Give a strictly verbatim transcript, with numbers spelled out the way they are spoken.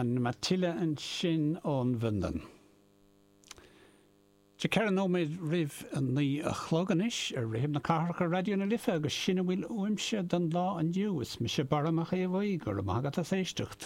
An Matilda ansin ón bhFionlainn. Tá ceithre nóiméad roimh a naoi a chlog anois ar Rithim na Cathrach ar Raidió na Life agus sin a bhfuil uaimse don lá inniu is mise Barra Mac Aodha Bhuí go raibh maith agat as éisteacht.